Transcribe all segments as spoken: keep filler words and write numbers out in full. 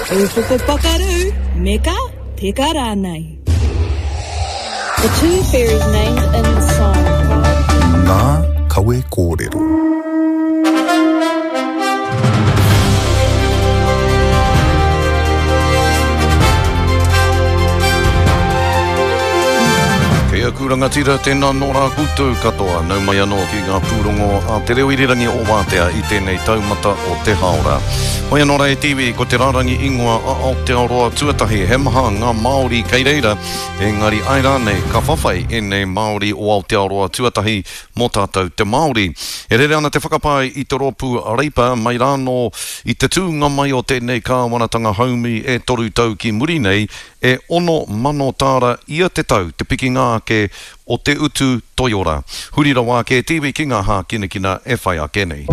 Ūpoko pakaru, me ka, peka rānei. The two ferries named in the song. Ngā kawe kōrero. Kei aku rangatira, tēnā nō rā koutou katoa. Nau mai anō ki ngā pūrongo a Te Reo Irirangi o Wātea i tēnei taumata o te hāora. Hoi anō rā e te iwi, ko te rārangi ingoa a Aotearoa tuatahi, he maha ngā Māori kei reira, engari ai rānei ka whawhai ēnei Māori o Aotearoa tuatahi mō tātou te Māori. E rere ana te whakapae i te rōpū Reipa mai rānō i te tūnga mai o tēnei kāwanatanga haumi e toru tau ki muri nei, e ono mano tāra ia te tau te pikinga ake o te utu toiora. Huri rawa ake te iwi ki ngā hākinakina e whai ake nei.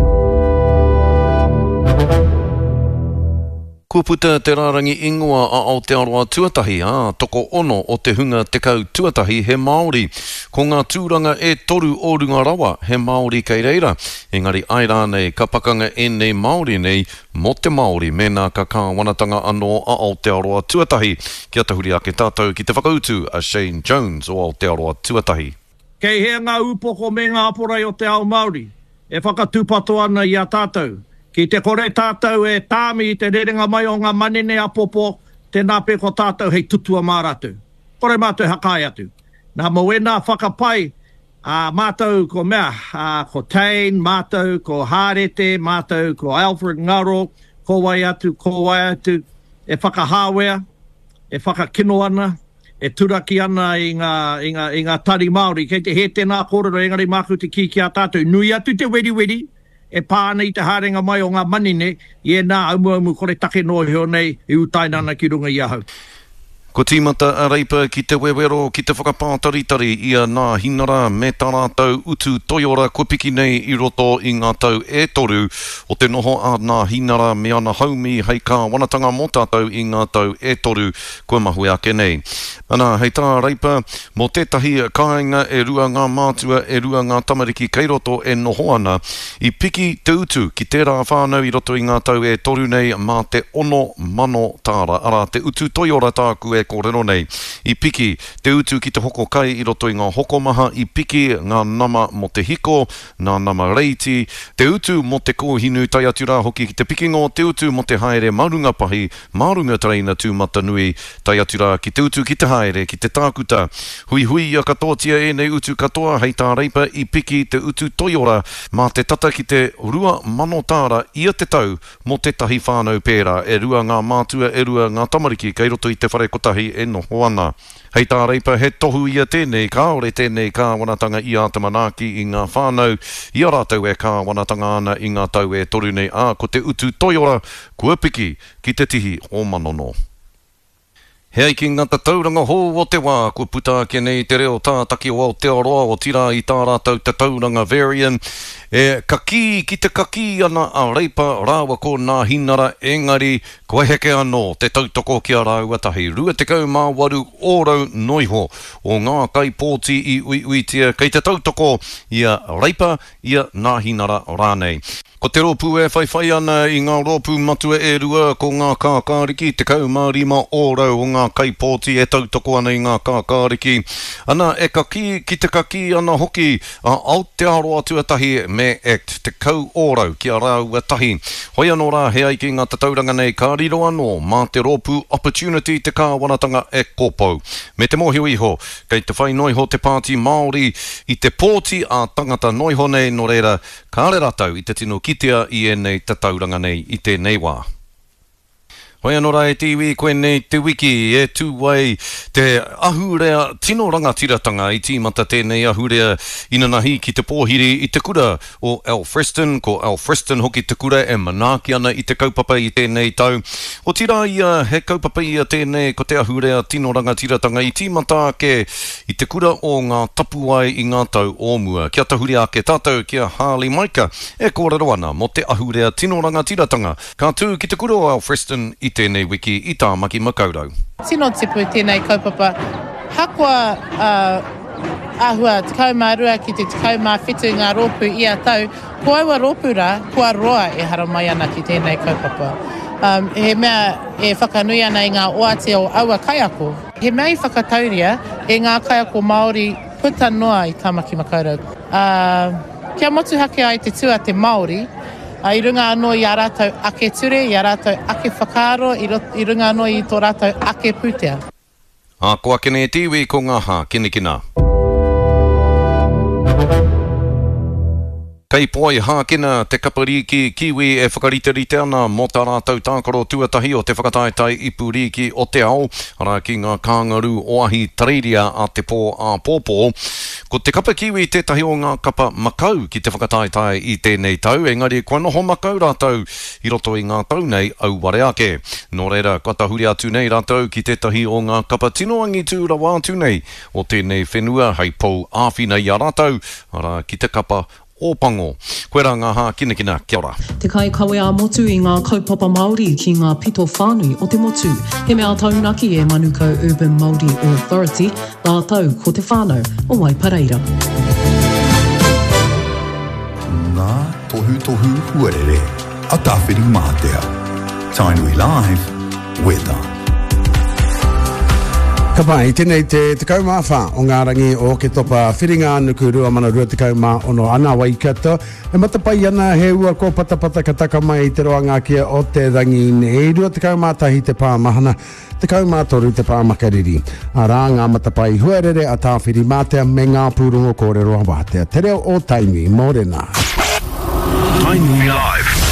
Kua puta te rārangi ingoa a Aotearoa tuatahi, ā, toko ono o te hunga tekau tuatahi he Māori. Ko ngā tūranga e toru o runga rawa he Māori kei reira. Engari ai rānei ka pakanga ēnei Māori nei mō te Māori mēnā ka kāwanatanga anō a Aotearoa tuatahi. Kia tahuri ake tātou ki te whakautu a Shane Jones o Aotearoa tuatahi. Kei hea ngā ūpoko me ngā aporei o te ao Māori e whakatūpato ana i a tātou? Ki te kore tātou e tāmi i te rerenga mai o ngā manene apopo, tēnā pea ko tātou hei tutua mā rātou. Kore mātou e hakae atu. Nā, mō ēnā whakapae, ā, mātou ko mea, ā, ko Tane, mātou ko Hārete, mātou ko Alfred Ngaro, ko wai atu, ko wai atu, e whakahāwea, e whakakino ana, e turaki ana i ngā, i ngā, i ngā tari Māori. Kei te hē tēnā kōrero, engari māku te kī ki a tātou, nui atu te weriweri e pā ana i te haerenga mai o ngā manene i ēnā aumuaumu kore take noa iho nei e utaina ana ki runga i ahau. Kua tīmata a Reipa ki te wewero ki te whakapātaritari i a Nāhinara me tā rātou utu toiora kua piki nei i roto i ngā tau e toru o te noho a Nāhinara me ana haumi hei kāwanatanga mō tātou i ngā tau e toru kua mahue ake nei. Ana, hei tā Reipa, mō tētahi kāinga e rua ngā mātua, e rua ngā tamariki kei roto e noho ana, i piki te utu ki tērā whānau i roto i ngā tau e toru nei mā te ono mano tāra, arā te utu toiora tāku e kōrero nei. I piki te utu ki te hoko kai i roto i ngā hokomaha, i piki ngā nama mō te hiko, ngā nama reiti, te utu mō te kōhinu tae atu rā hoki ki te pikinga o te utu mō te haere mā runga pahi, mā runga tereina tūmatanui, tae atu rā ki te utu ki te haere ki te tākuta. Huihuia katoatia ēnei utu katoa hei tā Reipa i piki te utu toiora mā te tata ki te rua mano tāra ia te tau mō tētahi whānau pērā, e rua ngā mātua, e rua ngā tamariki kei roto i te whare kotahi e noho ana. Hei tā Reipa, he tohu ia tēnei, kāore tēnei kāwanatanga i āta manaaki i ngā whānau i a rātou e kāwanatanga ana i ngā tau e toru nei, ā, ko te utu toiora kua piki ki te tihi o Manono. He ai ki ngā tatauranga hou o te wā, kua puta ake nei te reo tātaki o Aotearoa, otirā i tā rātou tatauranga Verian, e kakī ki te kakī ana a Reipa rāua ko Nāhinara, engari kua heke anō te tautoko ki a rāua tahi. Rua tekau mā waru ōrau noiho o ngā kaipōti i uiuitia kei te tautoko i a Reipa, i a Nāhinara rānei. Ko te rōpū e whaiwhai ana i ngā rōpū matua e rua ko ngā kākāriki, tekau mā rima ōrau o ngā kaipōti e tautoko ana i ngā kākāriki. Ana, e kakī ki te kakī ana hoki a Aotearoa tuatahi me Act, tekau ōrau ki a rāua tahi. Hoi anō rā, he ai ki ngā tatauranga nei ka riro anō mā te rōpū Opportunity te kāwanatanga e kōpou. Me te mōhio iho, kei te whai noiho te Pāti Māori i te pōti ā-tangata noiho nei, nō reira, kāre rātou i te tino kitea i ēnei tatauranga nei i tēnei wā. Hoi anō rā e te iwi, koinei te wiki e tū ai te ahurea tino rangatiratanga i tīmata tēnei ahurea inanahi ki te pōhiri i te kura o Alfriston. Ko Alfriston hoki te kura e manaaki ana i te kaupapa i tēnei tau. Otirā ia, he kaupapa ia tēnei ko te ahurea tino rangatiratanga i tīmata ake i te kura o ngā tapuwae i ngā tau o mua. Kia tahuri ake tātou ki a Harley Maika e kōrero ana mō te ahurea tino rangatiratanga ka tū ki te kura o Alfriston i tēnei wiki i Tāmaki Makaurau. Tino tipu tēnei kaupapa. Hakoa, uh, āhua tekau mā rua ki te tekau mā whitu ngā rōpū ia tau, ko aua rōpū rā, kua roa e haramai ana ki tēnei kaupapa. Um, he mea e whakanui ana i ngā oati o aua kaiako. He mea i whakatauria e ngā kaiako Māori puta noa i Tāmaki Makaurau. Uh, kia motuhake ai te tū a te Māori, uh, i runga anō i a rātou ake ture, i a rātou ake whakaaro, i, rot, i runga anō i tō rātou ake pūtea. Ā, ko ake nei te iwi ko ngā hākinakina. Kei Poihākena te kapa rīki Kiwi e whakariterite ana mō tā rātou tākaro tuatahi o te whakataetae ipu rīki o te ao, arā ki ngā Kāngarū o Ahitereiria a te pō āpōpō. Ko te kapa Kiwi tētahi o ngā kapa makau ki te whakataetae i tēnei tau, engari kua noho makau rātou i roto i ngā tau nei auware ake. Nō reira, kua tahuri atu nei rātou ki tētahi o ngā kapa tino angitū rawa atu nei o tēnei whenua hei pou āwhina i a rātou, arā ki te kapa Ōpango. Koirā ngā hākinakina, kia ora. Te kaikawe ā-motu i ngā kaupapa Māori ki ngā pito whānui o te motu. He mea taunaki e Manukau Urban Māori Authority, rātou ko te whānau o Waipareira. Ngā tohutohu huarere a Tāwhirimātea. Tainui Live, Weather. Ka pai, tēnei te tekau mā whā o ngā rangi o Oketopa Whiringa-ā-nuku rua mano rua tekau mā ono ana Waikato. E matapae ana he ua kōpatapata ka taka mai i te roanga ake o te rangi nei. Rua tekau mā tahi te pā mahana, tekau mā toru te pā makariri. Arā ngā matapae huarere a Tāwhirimātea me ngā pūrongo kōrero a Wātea. Te reo o Tainui, mōrena. Tainui Live.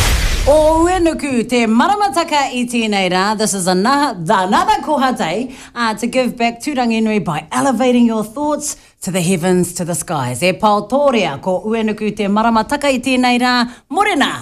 O Uenuku te maramataka i tēnei rā. This is another, another koha day uh, to give back to Ranginui by elevating your thoughts to the heavens, to the skies. E pao tōrea, ko Uenuku te maramataka i tēnei rā. Morena!